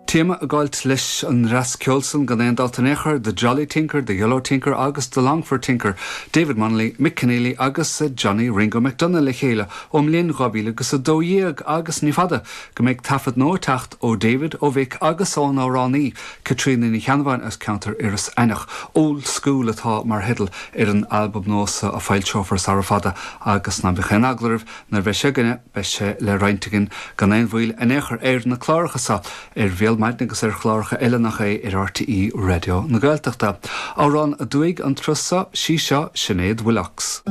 Téama ag gabháilt leis an ndreas ceoil san gan aon dabht in aon chor, The Jolly Tinker, The Yellow Tinker agus The Longford Tinker, David Munnelly, Mick Conneely agus Johnny Ringo McDonagh le chéile ón mbliain 2012 agus ní fada go mbeidh taifead nua ag teacht ó David, ó Mhick agus ón amhránaí Caitríona Ní Cheannabháin as ceantar Iorras Aithneach. Old School atá mar theideal ar an albam nua so a foilseofar sara fada agus ná bíodh aon eagla oraibh Nuair a bheidh sé againne, beidh sé le roinnt againn gan aon mhoill in aon chor ar na cláracha seo, ar Bhéal Maidine agus ar chláracha eile nach é ar RTÉ Raidió na Gaeltachta. Amhrán aduaidh an turas seo, sí seo Sinéad Willox.